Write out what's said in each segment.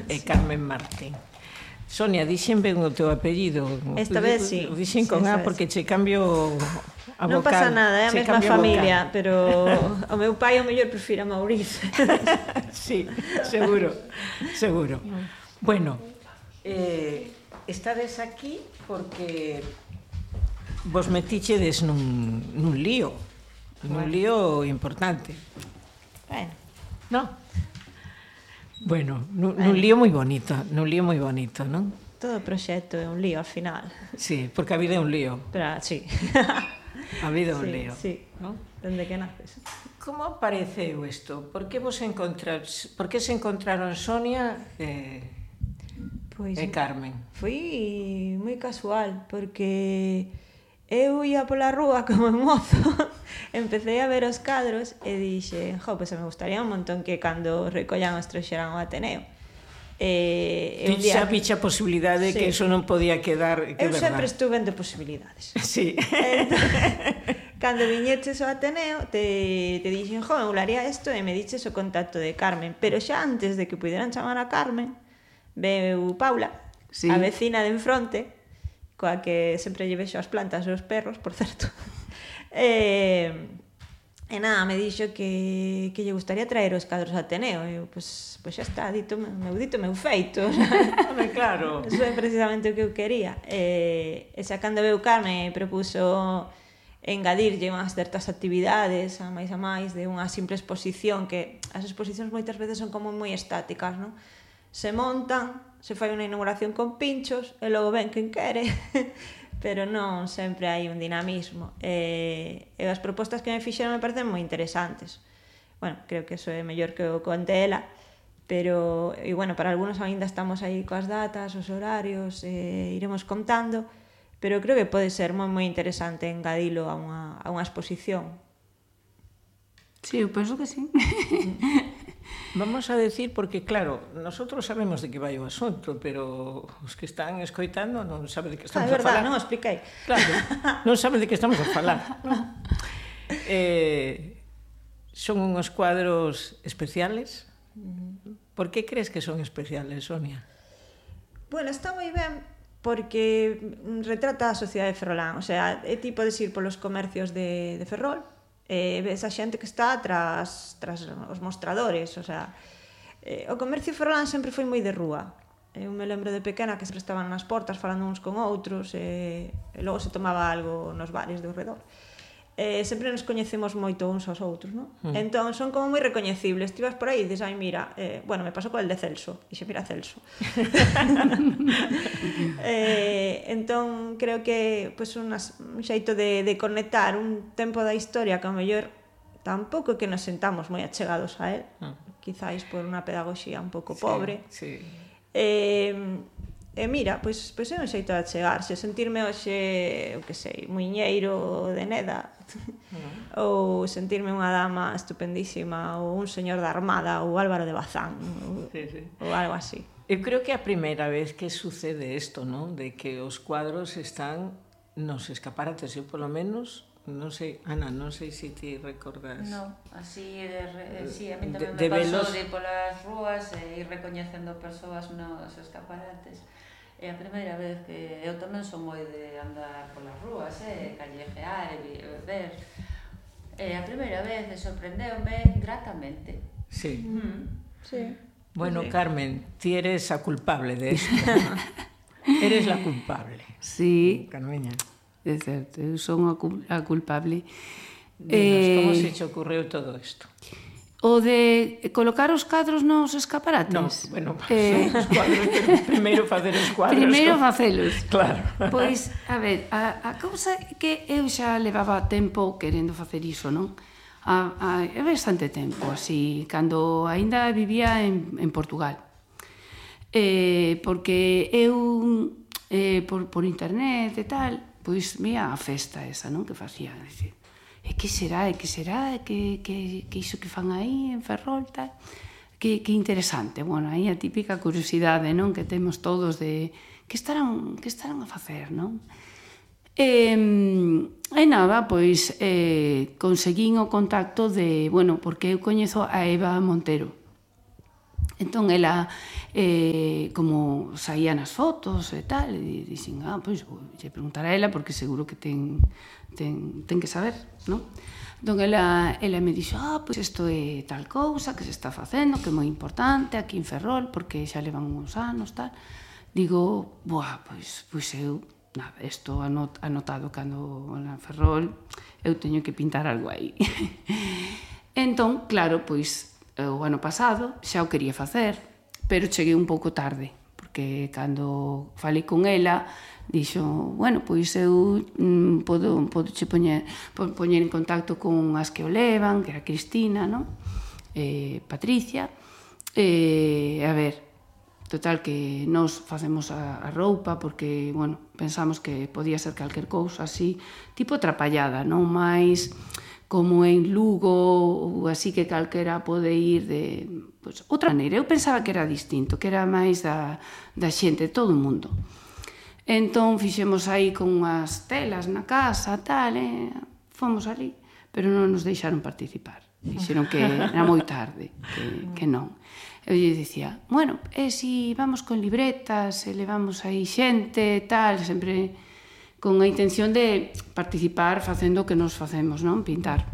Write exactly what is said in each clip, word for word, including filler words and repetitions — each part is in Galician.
e Carmen Martín. Sonia, dixen ben o teu apellido. Esta vez sí. Dixen con A porque che cambio a vocal. Non pasa nada, é a mesma familia, pero o meu pai o mellor prefira Mauricio. Sí, seguro, seguro. Bueno, eh, estades aquí porque vos metichedes nun, nun lío, nun lío importante. Bueno. No? Bueno, nun, nun lío moi bonito, nun lío moi bonito, non? Todo proxecto é un lío al final. Sí, porque a vida é un lío. Pero, sí. A vida é un sí, lío. Sí, ¿no? Dende que naces. Como apareceu isto? Por que vos encontras, por que se encontraron Sonia e, pois, e Carmen? Foi moi casual, porque eu ia pola rúa como mozo, empecé a ver os cadros e dixe, jo, pois me gustaría un montón que cando recollan os trouxeran ao Ateneo. E un día... Xa picha a posibilidade de sí. que eso non podía quedar, que eu verdad. sempre estuve de posibilidades. Sí. Entón, cando viñeches ao Ateneo, te, te dixen, jo, me molaría isto, e me diches o contacto de Carmen. Pero xa antes de que puderan chamar a Carmen, veu Paula, sí. a vecina de enfronte, coa que sempre lle vexo as plantas e os perros, por certo. e, e nada, me dixo que, que lle gustaría traer os cadros a Ateneo. E eu, pois, pois xa está, dito, meu dito, meu feito. Home, claro. Eso é precisamente o que eu quería. E, e xa cando veu Carmen, propuso engadirlle unhas certas actividades, a máis a máis, de unha simple exposición, que as exposicións moitas veces son como moi estáticas, non? Se montan, se fai unha inauguración con pinchos, e logo ven quen quere, pero non sempre hai un dinamismo. E, e as propostas que me fixeron me parecen moi interesantes. Bueno, creo que eso é mellor que o conte ela, pero, e bueno, para algunos ainda estamos aí coas datas, os horarios, e iremos contando, pero creo que pode ser moi moi interesante engadilo a unha, a unha exposición. Sí, eu penso que sí. Vamos a decir, porque claro, nosotros sabemos de que vai o asunto, pero os que están escoitando non saben de que estamos ah, a falar. Ah, é verdad, non o expliquei. Claro, non saben de que estamos a falar. eh, son unhos cuadros especiales. Por que crees que son especiales, Sonia? Bueno, está moi ben porque retrata a sociedade de Ferrolán. O sea, é ti podes ir polos comercios de, de Ferrol, e ves a xente que está tras, tras os mostradores, o sea, eh, o comercio ferrolán sempre foi moi de rúa. Eu me lembro de pequena que sempre estaban nas portas falando uns con outros, e, e logo se tomaba algo nos bares do redor. Eh, sempre nos coñecemos moito uns aos outros, non? Mm. Entón son como moi recoñecibles. Ti vas por aí e dices, ai, mira, eh, bueno, me pasou co el de Celso, e xe, mira Celso. eh, entón creo que pues, unas, un xeito de, de conectar un tempo da historia que ao mellor tampouco que nos sentamos moi achegados a él, mm. quizáis por unha pedagogía un pouco sí, pobre. Sí. Eh, E mira, pois, pois é un xeito de achegarse, sentirme hoxe, eu que sei, muiñeiro de Neda, uh-huh. ou sentirme unha dama estupendísima, ou un señor da Armada, ou Álvaro de Bazán, ou, sí, sí. ou algo así. Eu creo que é a primeira vez que sucede isto, non? De que os cuadros están nos escaparates, eu polo menos, non sei, Ana, non sei se ti recordas. No, así, de, sí, a mí tamén de, me de pasou velos... de ir polas rúas e ir recoñecendo persoas nos escaparates. É a primeira vez que eu tamén son moi de andar polas rúas, eh, callejear e ver. É a primeira vez e sorprendeume gratamente. Sí. Mm. Sí. Bueno, sí. Carmen, ti eres a culpable de esto. Eres la culpable. Sí. Carmeña. É certo, eu son a, cul a culpable. Dinos, eh... como se te ocurreu todo isto? O de colocar os cadros nos escaparates? No, bueno, eh... os cuadros, pero primeiro facer os cuadros. Primeiro facelos. Claro. Pois, a ver, a, a cousa é que eu xa levaba tempo querendo facer iso, non? A, a, é bastante tempo, así, cando aínda vivía en, en Portugal. Eh, porque eu, eh, por, por internet e tal, pois, mira a festa esa, non? Que facía, decir, e que será, e que será, e que, que, que iso que fan aí en Ferrol, tal, que, que interesante. Bueno, aí a típica curiosidade, non? Que temos todos de que estarán, que estarán a facer, non? E, e nada, pois eh, conseguín o contacto de, bueno, porque eu coñezo a Eva Montero, Entón, ela, eh, como saía nas fotos e tal, e dixen, ah, pois, vou preguntar a ela, porque seguro que ten, ten, ten que saber, non? Entón, ela, ela me dixo, ah, pois isto é tal cousa que se está facendo, que é moi importante aquí en Ferrol, porque xa levan uns anos, tal. Digo, boa, pois, pois eu, nada, isto anot, anotado cando na Ferrol, eu teño que pintar algo aí. Entón, claro, pois, o ano pasado xa o quería facer, pero cheguei un pouco tarde, porque cando falei con ela, dixo, bueno, pois eu mm, podo, podo che poñer, poñer en contacto con as que o levan, que era Cristina, non? Eh, Patricia, e, a ver, total que nos facemos a, a roupa, porque, bueno, pensamos que podía ser calquer cousa así, tipo trapallada, non máis como en Lugo ou así que calquera pode ir de pues, outra maneira. Eu pensaba que era distinto, que era máis da, da xente, de todo o mundo. Entón fixemos aí con unhas telas na casa, tal, e fomos ali, pero non nos deixaron participar. Dixeron que era moi tarde, que, que non. Eu lle dicía, bueno, e se vamos con libretas, e levamos aí xente, tal, sempre con a intención de participar facendo o que nos facemos, non? Pintar.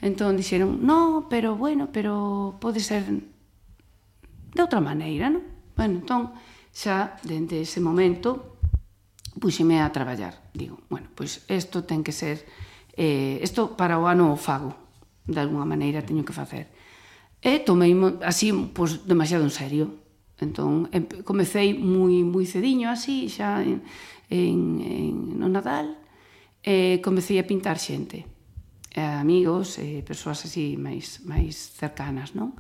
Entón dixeron, no, pero bueno, pero pode ser de outra maneira, non? Bueno, entón, xa, dende ese momento, puxeme a traballar. Digo, bueno, pois isto ten que ser, eh, isto para o ano o fago, de alguna maneira teño que facer. E tomei así, pois, demasiado en serio. Entón, comecei moi, moi cediño así, xa en, en, en, no Nadal, e comecei a pintar xente, amigos, e persoas así máis, máis cercanas, non?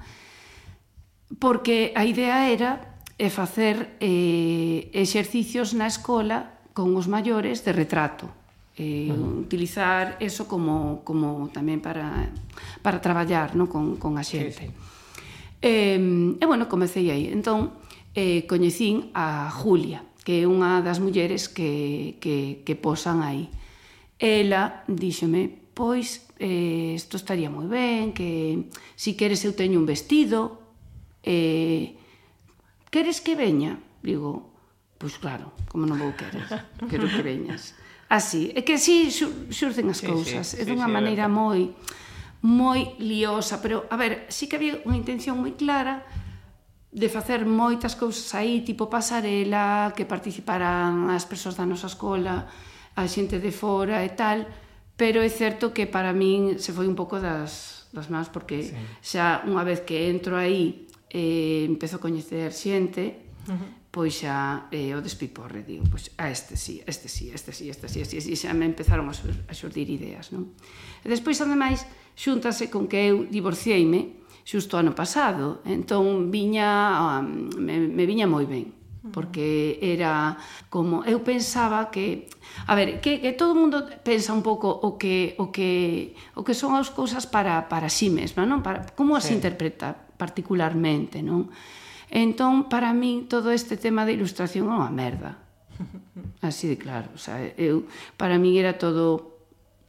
Porque a idea era e facer eh, exercicios na escola con os maiores de retrato, eh, uh-huh. utilizar eso como, como tamén para, para traballar, non? con, con a xente. Sí, sí. E, e bueno, comecei aí. Entón, eh, coñecín a Julia, que é unha das mulleres que, que, que posan aí. Ela díxome, pois, eh, isto estaría moi ben, que si queres eu teño un vestido, eh, queres que veña? Digo, pois claro, como non vou querer, quero que veñas. Así, é que así xurcen as cousas, sí, sí, é dunha sí, sí, maneira moi moi liosa, pero, a ver, sí que había unha intención moi clara de facer moitas cousas aí, tipo pasarela, que participaran as persoas da nosa escola, a xente de fora e tal, pero é certo que para min se foi un pouco das, das mans, porque sí. xa unha vez que entro aí e eh, empezo a coñecer xente, uh-huh. pois xa eh, o despiporre, digo, pois a este sí, este sí, este sí, este sí, este sí, e xa me empezaron a, sur, a xurdir ideas, non? E despois, ademais, xúntase con que eu divorcieime xusto ano pasado, entón viña, um, me, me viña moi ben, porque era como, eu pensaba que, a ver, que, que todo o mundo pensa un pouco o que, o que, o que son as cousas para, para sí mesma, non? Para, como as sí. interpreta particularmente, non? Entón, para min, todo este tema de ilustración é unha merda. Así de claro, o sea, eu, para min era todo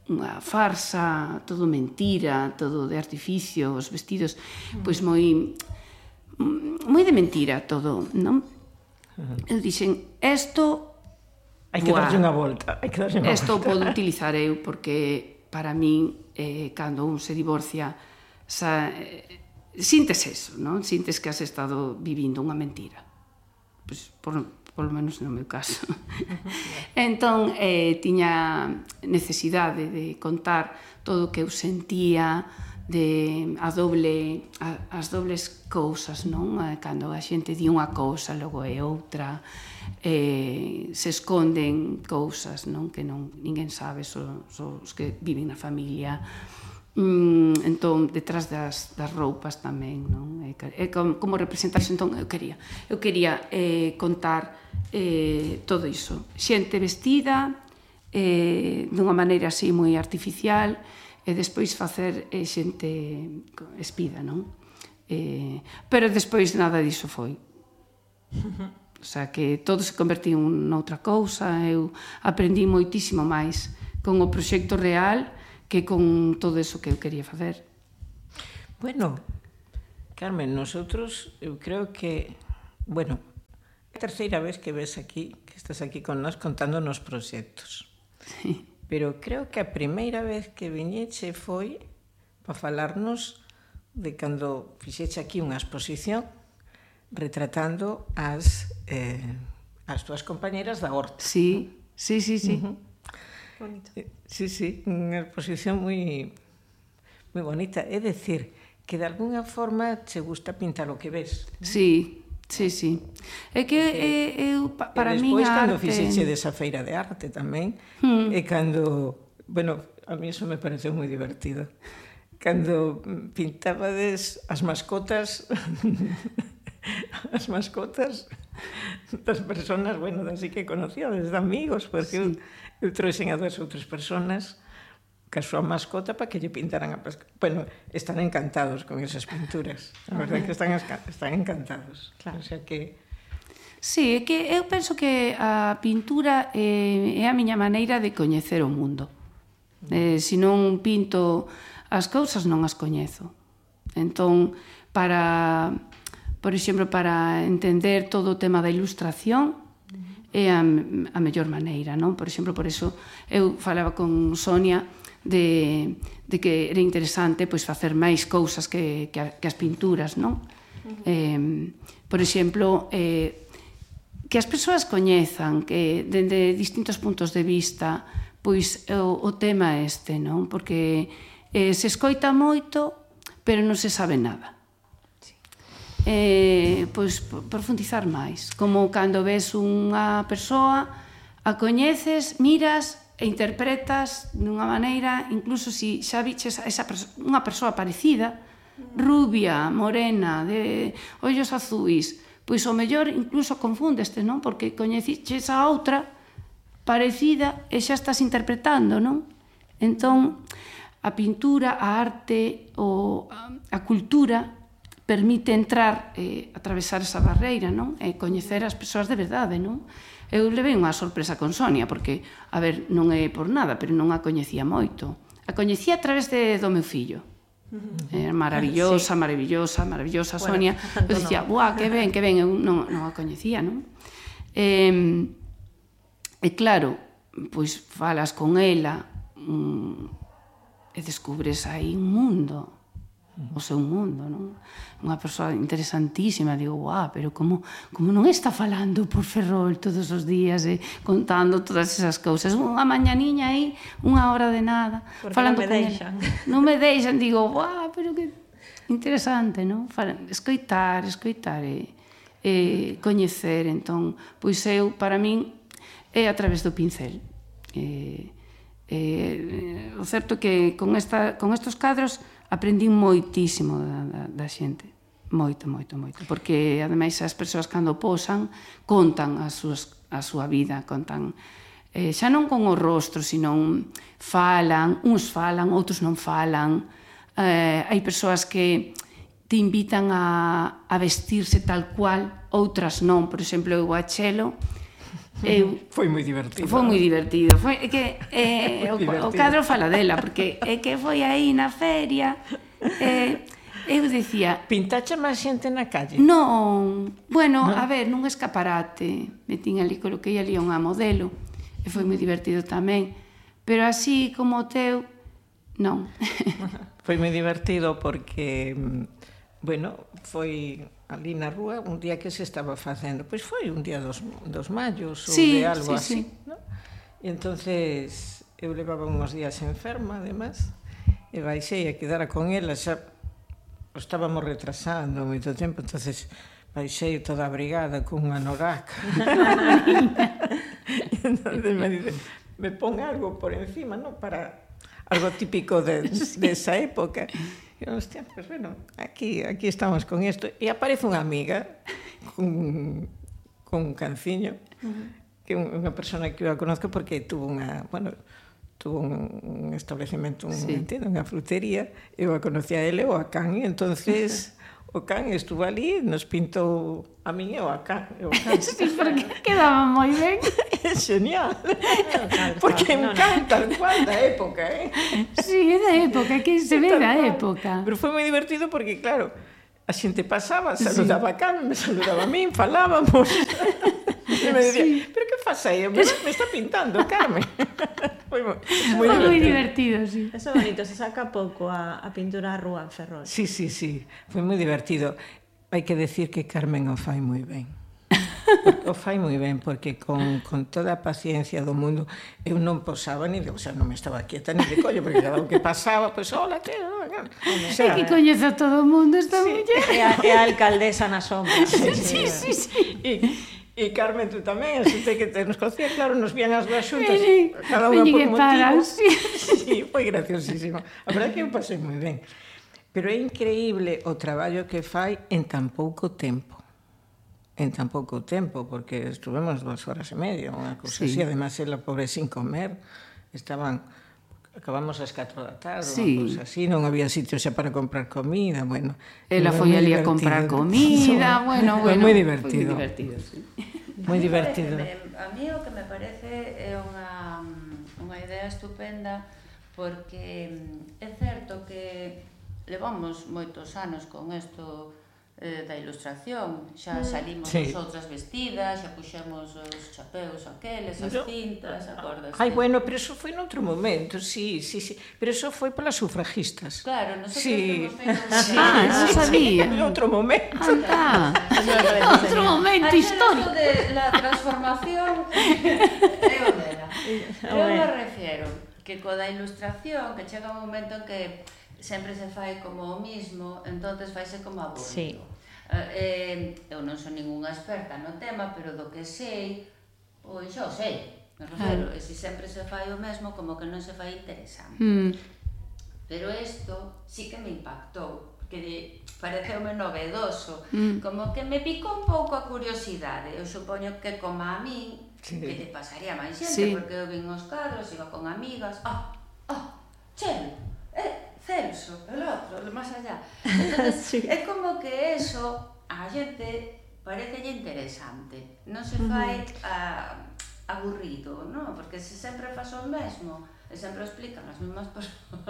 unha farsa, todo mentira, todo de artificio, os vestidos, pois moi moi de mentira todo, non? Eu dixen, esto hai que darlle unha volta, hai que darlle unha volta. Esto podo utilizar eu porque para min eh, cando un se divorcia, sa, eh, sintes eso, non? Sintes que has estado vivindo unha mentira. Pois por polo menos no meu caso. Entón, eh, tiña necesidade de contar todo o que eu sentía, de a doble, a, as dobles cousas, non? Cando a xente di unha cousa, logo é outra, eh, se esconden cousas, non? Que non, ninguén sabe, só, só os que viven na familia. Mm, entón, detrás das, das roupas tamén, non? E, e como, como representarse, entón, eu quería eu quería eh, contar eh, todo iso, xente vestida eh, dunha maneira así moi artificial, e despois facer eh, xente espida, non? Eh, pero despois nada diso foi, o sea, que todo se convertiu noutra cousa. Eu aprendi moitísimo máis con o proxecto real que con todo eso que eu quería facer. Bueno, Carmen, nosotros, eu creo que, bueno, é a terceira vez que ves aquí, que estás aquí con nós contándonos proxectos. Sí. Pero creo que a primeira vez que viñeche foi para falarnos de cando fixeche aquí unha exposición retratando as, eh, as túas compañeras da horta. Sí, sí, sí, sí. Uh-huh. Bonito. Sí, sí, unha exposición moi moi bonita. É dicir, que de alguna forma che gusta pintar o que ves. Sí, sí, sí. É que eh, eu, pa, para e mí despois, a cando arte... fixeche desa feira de arte tamén, Hmm. e cando... Bueno, a mí eso me pareceu moi divertido. Cando pintabades as mascotas... as mascotas das personas, bueno, así que conocíades, de amigos, porque sí. eu, eu trouxen a dúas outras personas ca súa mascota para que lle pintaran a mascota. Bueno, están encantados con esas pinturas. A verdade é que están, están encantados. Claro. O sea que... Sí, é que eu penso que a pintura é, é a miña maneira de coñecer o mundo. Eh, se non pinto as cousas, non as coñezo. Entón, para... Por exemplo, para entender todo o tema da ilustración é a, a mellor maneira, non? Por exemplo, por eso eu falaba con Sonia de, de que era interesante pois, facer máis cousas que, que, a, que as pinturas, non? Uh-huh. Eh, por exemplo, eh, que as persoas coñezan que dende distintos puntos de vista pois o, o tema este, non? Porque eh, se escoita moito, pero non se sabe nada. Eh, pois profundizar máis, como cando ves unha persoa, a coñeces, miras e interpretas dunha maneira, incluso se xa viches esa perso- unha persoa parecida, rubia, morena, de ollos azuis, pois o mellor incluso confúndeste, non? Porque coñeciches a outra parecida e xa estás interpretando, non? Entón, a pintura, a arte, o, a cultura permite entrar, eh, atravesar esa barreira, non? E coñecer as persoas de verdade, non? Eu levei unha sorpresa con Sonia, porque, a ver, non é por nada, pero non a coñecía moito. A coñecía a través de, do meu fillo. Era maravillosa, sí. maravillosa, maravillosa, bueno, Sonia. Eu dicía, no. buah, que ben, que ben, eu non, non a coñecía, non? E, e claro, pois falas con ela mm, e descubres aí un mundo, o seu mundo, non? Unha persoa interesantísima, digo, guau, pero como, como non está falando por Ferrol todos os días e contando todas esas cousas, unha mañaniña aí, unha hora de nada, porque falando non me deixan. Non me deixan, digo, guau, pero que interesante, non? Escoitar, escoitar e, e coñecer, entón, pois eu, para min, é a través do pincel. E, e, o certo é que con, esta, con estos cadros aprendín moitísimo da, da, da xente, moito, moito, moito, porque ademais as persoas cando posan contan a, súas, a súa vida, contan eh, xa non con o rostro, sino falan, uns falan, outros non falan, eh, hai persoas que te invitan a, a vestirse tal cual, outras non, por exemplo, eu a Chelo, Eu, foi moi divertido. Foi moi divertido. Foi que eh, o, o cadro fala dela, porque é que foi aí na feria. Eh, eu dicía... Pintache máis xente na calle? Non. Bueno, ¿no? A ver, nun escaparate. Metín ali, coloquei ali unha modelo. E foi moi divertido tamén. Pero así como o teu, non. Foi moi divertido porque, bueno, foi... ali na rúa, un día que se estaba facendo, pois foi un día dos, dos mayos ou sí, de algo sí, así, sí. ¿no? E entonces eu levaba uns días enferma, además, e baixei a quedara con ela, xa o estábamos retrasando moito tempo, entonces baixei toda abrigada con unha noraca. E entonces me dice, me pon algo por encima, ¿no? Para algo típico de, de esa época. E, hostia, pues bueno, aquí, aquí estamos con isto. E aparece unha amiga con, con un canciño, uh-huh. que é unha persona que eu a conozco porque tuvo unha, bueno, tuvo un, un establecemento, un, sí. entiendo, unha frutería, eu a conocía a ele ou a Can, e entonces o Can estuvo ali, nos pintou a min e o a Can. E o Can sí, porque quedaba moi ben. É genial. Porque me encanta tal cual da época, eh? Sí, é da época, que se ve da época. Pero foi moi divertido porque, claro, a xente pasaba, saludaba a Carmen, me saludaba a min, falábamos. E me decía, sí. pero que faz aí? Me, me está pintando, Carmen. Foi moi, moi divertido. Moi divertido, sí. Eso bonito, se saca pouco a, a pintura a rúa en Ferrol. Sí, sí, sí, foi moi divertido. Hai que decir que Carmen o fai moi ben. O fai moi ben, porque con, con toda a paciencia do mundo eu non posaba ni de, o sea, non me estaba quieta ni de collo, porque cada o que pasaba, pois, pues, hola, que... O sea, é que coñece a todo o mundo esta sí. muller. É a, é a alcaldesa na sombra. Sí, sí, sí, sí. E, e Carmen, tú tamén, a xente que te nos conocía, claro, nos vían as dúas xuntas, cada unha por motivo. Sí. Sí, foi graciosísimo. A verdade que eu pasei moi ben. Pero é increíble o traballo que fai en tan pouco tempo. En tan pouco tempo, porque estuvemos dúas horas e media, unha cousa sí. así, además, ela, pobre, sin comer, estaban, acabamos ás catro da tarde, sí. unha cousa así, non había sitio xa para comprar comida, bueno. Ela foi ali a comprar comida, bueno, bueno. Foi moi divertido. Moi divertido, sí. Moi divertido. A mí o que me parece é unha, unha idea estupenda, porque é certo que levamos moitos anos con isto eh, da ilustración, xa salimos sí. nosotras vestidas, xa puxemos os chapeus aqueles, as cintas, acordas? Ai, bueno, pero eso foi noutro momento, sí, sí, sí, pero eso foi polas sufragistas. Claro, nosotros sí. sí. Ah, non sabía. En outro momento. Ah, outro momento histórico. de la transformación é o dela. Eu me refiero que co da ilustración, que chega un momento en que sempre se fai como o mismo, entonces faise como aburrido. Sí. Eh, eu non son ningunha experta no tema, pero do que sei, pois xa o sei, me refiero, ah. e se sempre se fai o mesmo, como que non se fai interesante. Mm. Pero isto sí que me impactou, que pareceume novedoso, mm. como que me picou un pouco a curiosidade. Eu supoño que como a min, sí. que te pasaría máis xente, sí. porque eu vin os cadros, iba con amigas, ah, ah, Chelo, eh, Celso, el outro, el máis allá. Entonces, sí. é como que eso a xente parecelle interesante, non se fai uh, aburrido, non? Porque se sempre faz o mesmo, e sempre explican as mesmas persoas.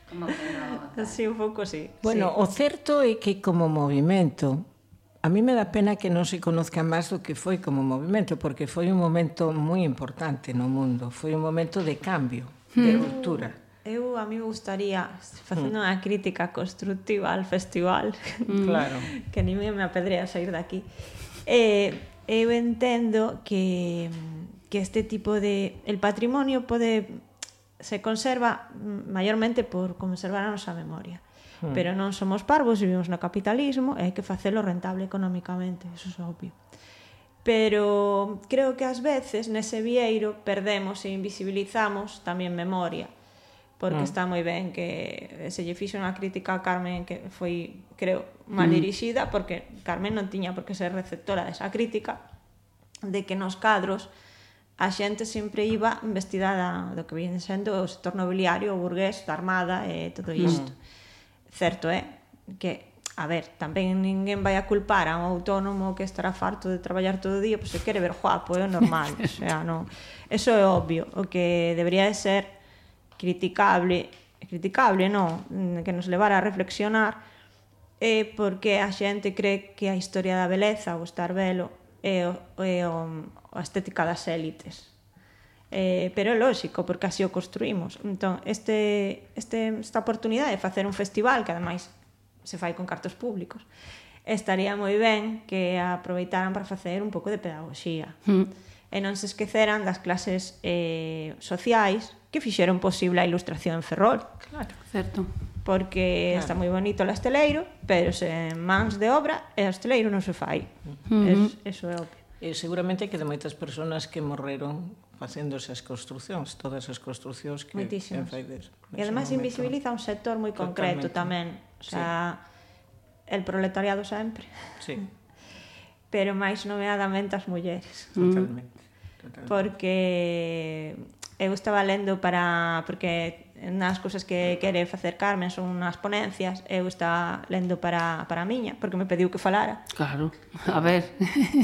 Como que non. Sí, un pouco sí. Bueno, sí. O certo é que como movimento, a mí me dá pena que non se conozca máis do que foi como movimento, porque foi un momento moi importante no mundo, foi un momento de cambio, de ruptura. Eu, a mí me gustaría, facendo unha crítica constructiva al festival, claro. que ni me apedrea sair daqui, eh, eu entendo que, que este tipo de... El patrimonio pode se conserva maiormente por conservar a nosa memoria. Hmm. Pero non somos parvos, vivimos no capitalismo e hai que facelo rentable económicamente, eso é obvio. Pero creo que ás veces nese vieiro perdemos e invisibilizamos tamén memoria, porque mm. está moi ben que se lle fixo unha crítica a Carmen que foi, creo, mal dirixida, porque Carmen non tiña por que ser receptora desa crítica, de que nos cadros a xente sempre iba vestida da, do que viene sendo o sector nobiliario, o burgués, da armada e todo isto. Mm. Certo é que, a ver, tamén ninguén vai a culpar a un autónomo que estará farto de traballar todo o día, pois se quere ver guapo, é normal, o sea, non. Eso é obvio, o que debería de ser criticable, criticable non, que nos levara a reflexionar é porque a xente cree que a historia da beleza, o estar belo, é, o, é o, a estética das élites. Eh, pero é lógico, porque así o construímos. Entón, este, este, esta oportunidade de facer un festival, que ademais se fai con cartos públicos, estaría moi ben que aproveitaran para facer un pouco de pedagogía. Mm. E non se esqueceran das clases eh, sociais que fixeron posible a ilustración en Ferrol. Claro, certo. Porque claro. Está moi bonito o esteleiro, pero se mans de obra, e o esteleiro non se fai. Uh-huh. Es, eso é obvio. E seguramente que de moitas persoas que morreron facendo esas construcións, todas as construcións que en faides. E ademais invisibiliza un sector moi concreto tamén. O sea, sí. El proletariado sempre. Sí. Pero máis nomeadamente as mulleres. Totalmente. Totalmente. Porque eu estaba lendo para... Porque nas cousas que quere facer Carmen son unhas ponencias, eu estaba lendo para, para a miña, porque me pediu que falara. Claro, a ver.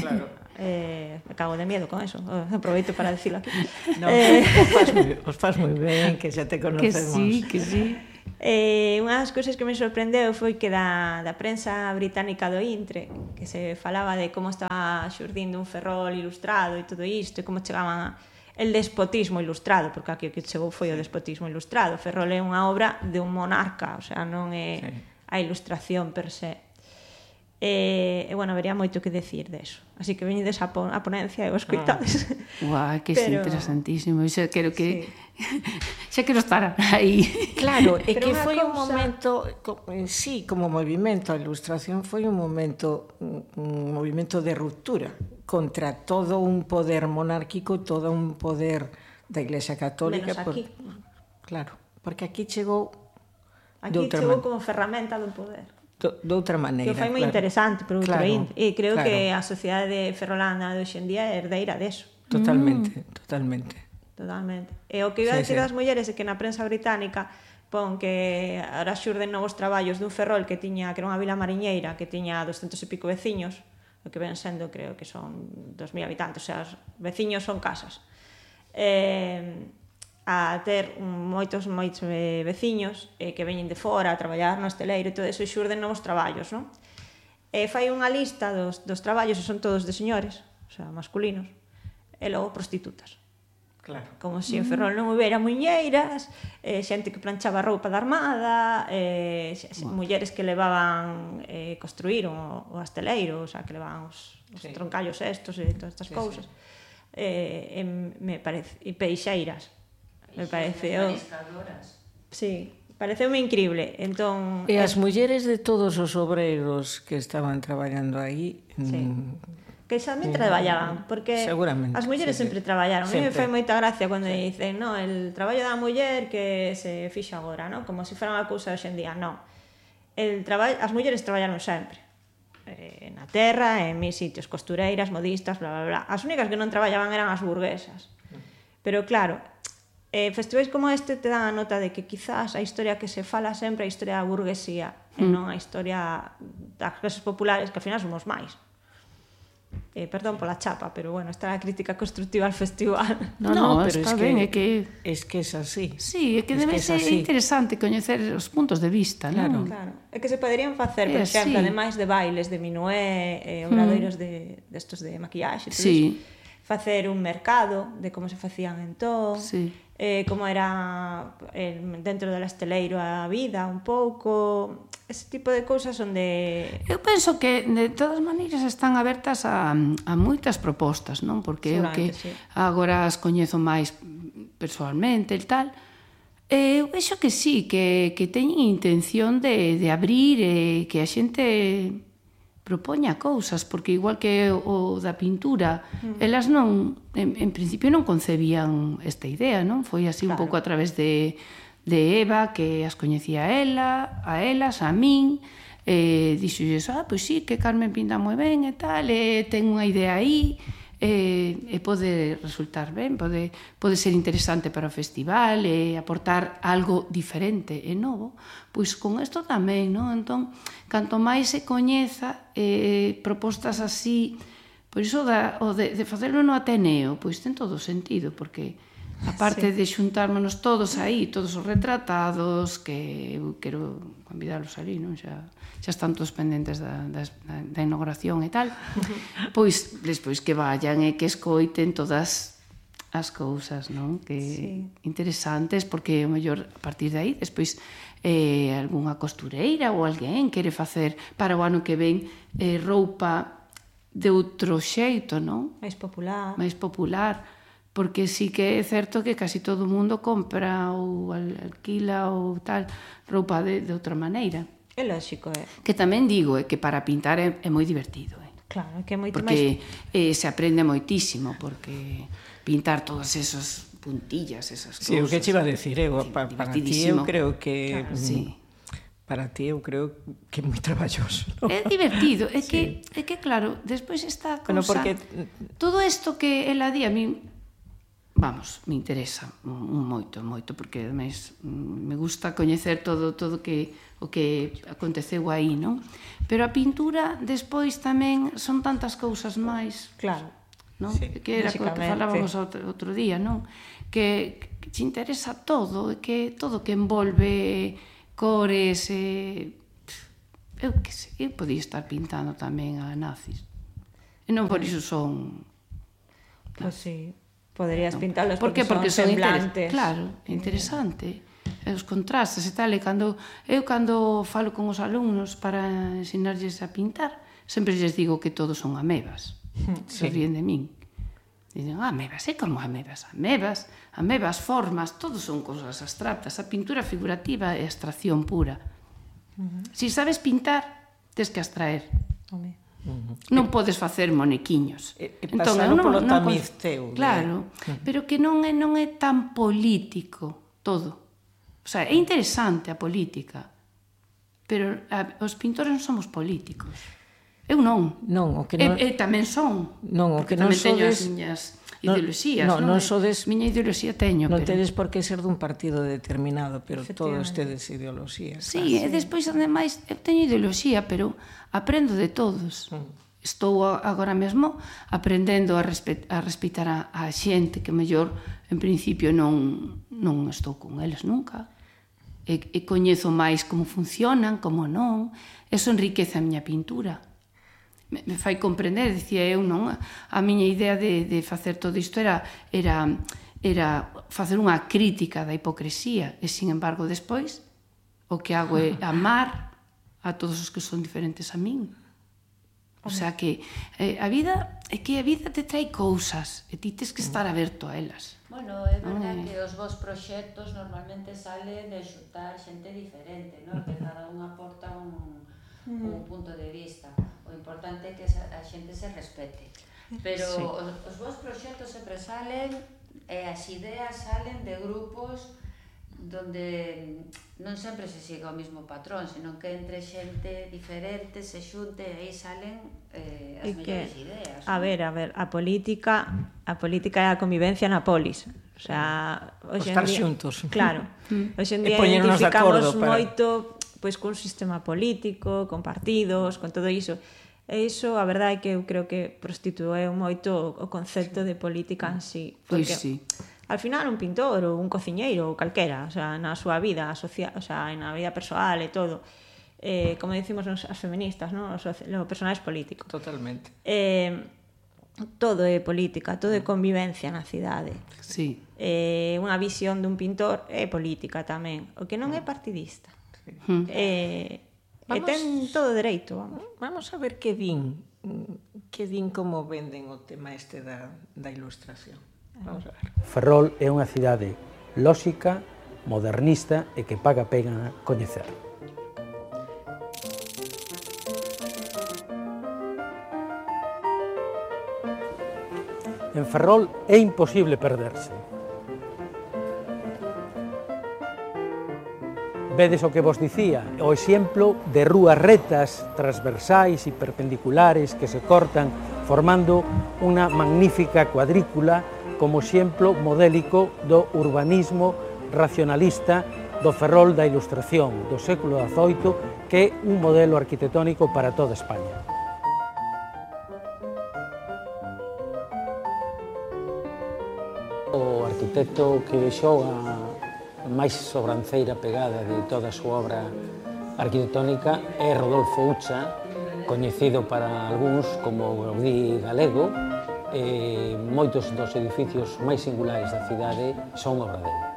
Claro. Eh, me cago de miedo con eso, aproveito para decirlo aquí. No, eh... os, faz moi, os faz moi ben, que xa te conocemos. Que sí, que sí. Eh, unha das cousas que me sorprendeu foi que da, da prensa británica do Intre, que se falaba de como estaba xurdindo un Ferrol ilustrado e todo isto, e como chegaban a, el despotismo ilustrado, porque aquí o que chegou foi o despotismo ilustrado. Ferrol é unha obra de un monarca, o sea, non é sí. a ilustración per se. E, e bueno, vería moito que decir deso. Así que veñedes a, pon a ponencia e os coitades. Guau, que Pero... é interesantísimo. Xa quero que... Sí. xa quero estar aí. Claro, é que foi cousa... un momento... Sí, como movimento, a ilustración foi un momento, un movimento de ruptura contra todo un poder monárquico, todo un poder da Iglesia Católica. Menos aquí. Por... Claro, porque aquí chegou... Aquí chegou man... como ferramenta do poder. De outra maneira, que foi moi claro. interesante por outra claro, e creo claro. que a sociedade ferrolana de hoxendía é herdeira deso. Totalmente, mm. totalmente. Totalmente. E o que iba a decir sí, das sí. mulleres é que na prensa británica pon que ahora xurden novos traballos dun Ferrol que tiña que era unha vila mariñeira que tiña doscentos e pico veciños, o que ven sendo creo que son dos mil habitantes, o sea, os veciños son casas. Eh, a ter moitos moitos veciños eh, que veñen de fora a traballar no hosteleiro e todo eso, e xurden novos traballos, non? E fai unha lista dos, dos traballos, e son todos de señores, o sea, masculinos, e logo prostitutas. Claro. Como se en Ferrol non houbera muñeiras, eh, xente que planchaba roupa da armada, eh, wow. mulleres que levaban eh, construir o, o hosteleiro, o sea, que levaban os, os sí. troncallos estos e todas estas sí, cousas. Sí. Eh, e me parece, e peixeiras. Me pareceu... Sí, pareceume increíble. Entón, e as mulleres de todos os obreiros que estaban traballando aí... Sí. Mm, que tamén mm, traballaban, porque as mulleres sí, sempre sí. traballaron. Sempre. A mí me fai moita gracia cando sí. dicen, no, el traballo da muller que se fixa agora, no? Como se fora unha cousa hoxe en día. No. El traballo, as mulleres traballaron sempre. Eh, na terra, en mil sitios, costureiras, modistas, bla, bla, bla. As únicas que non traballaban eran as burguesas. Pero claro... Eh, festivais como este te dan a nota de que quizás a historia que se fala sempre é a historia da burguesía mm. e non a historia das clases populares, que ao final somos máis. Eh, perdón pola chapa, pero bueno, esta é a crítica constructiva al festival. No, no, no pero está es ben, que, é que... Es que es así. Sí, é que es debe que ser así. Interesante coñecer os puntos de vista, claro. non? Claro. É que se poderían facer, por exemplo, ademais de bailes de minué, eh, obradoiros mm. de, de estos de maquillaxe, sí. Eso, facer un mercado de como se facían entón, sí. eh, como era eh, dentro do esteleiro a vida un pouco, ese tipo de cousas onde... Eu penso que de todas maneiras están abertas a, a moitas propostas, non? Porque eu que sí. agora as coñezo máis persoalmente e tal, eu penso que sí, que, que teñen intención de, de abrir e que a xente propoña cousas, porque igual que o da pintura, mm. elas non, en, en principio non concebían esta idea, non? Foi así claro. un pouco a través de, de Eva, que as coñecía a ela, a elas, a min, e dixolles, ah, pois sí, que Carmen pinta moi ben e tal, e ten unha idea aí, e, e pode resultar ben, pode, pode ser interesante para o festival e aportar algo diferente e novo, pois con isto tamén, non? Entón, canto máis se coñeza eh, propostas así, por iso da, o de, de facelo no Ateneo, pois ten todo sentido, porque aparte sí. de xuntármonos todos aí, todos os retratados, que eu quero convidalos ali, non? Xa, xa están todos pendentes da, da, da inauguración e tal, pois despois que vayan e que escoiten todas as cousas, non? Que sí. interesantes, porque o mellor a partir de aí, despois eh, algunha costureira ou alguén quere facer para o ano que ven eh, roupa de outro xeito, non? Mais popular. Mais popular. Porque sí que é certo que casi todo o mundo compra ou alquila ou tal roupa de, de outra maneira. É lógico, é. Que tamén digo, é que para pintar é, é moi divertido, é. Claro, é que é moito porque, máis... Porque eh, se aprende moitísimo, porque pintar todas esas puntillas, esas cousas... Sí, o que che iba a decir, eu, para, para ti eu creo que... Claro, sí. Para ti eu creo que é moi traballoso, ¿no? É divertido, é que, sí. é que claro, despois esta cousa... Bueno, porque... Todo isto que ela di a mí... Vamos, me interesa moito, moito, porque ademais me gusta coñecer todo todo que o que aconteceu aí, non? Pero a pintura despois tamén son tantas cousas máis, claro, non? Sí, que era o que falábamos outro, outro día, non? Que, que te interesa todo, que todo que envolve cores, eh, eu que sei, eu podía estar pintando tamén a nazis. E non por iso son... Pois sí, poderías Non. pintalos Por que? porque, Porque son son interes- semblantes. Claro, é interesante. E os contrastes e tal, e cando eu cando falo con os alumnos para ensinarlles a pintar, sempre lles digo que todos son amebas. Se ríen de min. Dicen, ah, amebas, é como amebas. Amebas, amebas, formas, todos son cosas abstractas. A pintura figurativa é abstracción pura. Se sabes pintar, tes que abstraer. Home. Non podes facer monequiños. E- e pasalo polo tamiz teu, Claro, pero que non é, non é tan político todo. O sea, é interesante a política, pero a, os pintores non somos políticos. Eu non. Non, o que E, non... e tamén son. Non, o porque que non tamén teño as sodes- miñas non- ideoloxías, non, non? non sodes- Miña ideoloxía teño, Non pero... tedes por que ser dun partido determinado, pero todos Efectivamente. tedes ideoloxías. Sí, e despois, ademais, eu teño ideoloxía, pero aprendo de todos. Estou a- agora mesmo aprendendo a, respe a respeitar a, a xente que mellor, en principio, non, non estou con eles nunca. E, e coñezo máis como funcionan, como non. Eso enriquece a miña pintura. Me, me fai comprender, dicía eu, non? A, a miña idea de, de facer todo isto era, era, era facer unha crítica da hipocresía. E, sin embargo, despois, o que hago é amar a todos os que son diferentes a min. O sea que eh, a vida é que a vida te trae cousas e ti tes que estar aberto a elas. Bueno, é Ai. verdade que os vos proxectos normalmente salen de xuntar xente diferente, non? Que cada un aporta un, un punto de vista. O importante é que a xente se respete. Pero Sí. os, os vos proxectos sempre salen e as ideas salen de grupos donde non sempre se siga o mesmo patrón, senón que entre xente diferente se xunte e aí salen eh, as E que, mellores ideas. a ver, a ver, a política, a política é a convivencia na polis. O sea, hoxe en Estar día, xuntos. Claro. Hoxe en E día poñernos de identificamos acordo para- moito pois cun sistema político, con partidos, con todo iso. E iso, a verdade é que eu creo que prostitueu moito o concepto de política en sí. Pois Porque sí. al final un pintor ou un cociñeiro ou calquera, o sea, na súa vida social, o sea, na vida persoal e todo, eh, como decimos nos, as feministas, ¿no? Os, os personaxes políticos. Totalmente. Eh, todo é política, todo é convivencia na cidade. Sí. Eh, unha visión dun pintor é política tamén, o que non é partidista. Mm. Eh, e Vamos- ten todo dereito, vamos. Vamos a ver que din, que din como venden o tema este da, da ilustración. Vamos a ver. Ferrol é unha cidade lóxica, modernista e que paga pena coñecer. En Ferrol é imposible perderse. Vedes o que vos dicía, o exemplo de rúas retas, transversais e perpendiculares que se cortan formando unha magnífica cuadrícula como exemplo modélico do urbanismo racionalista do Ferrol da Ilustración do século dezoito, que é un modelo arquitectónico para toda España. O arquitecto que xoga máis sobranceira pegada de toda a súa obra arquitectónica é Rodolfo Ucha, coñecido para algúns como Gaudí galego, e moitos dos edificios máis singulares da cidade son obra dele.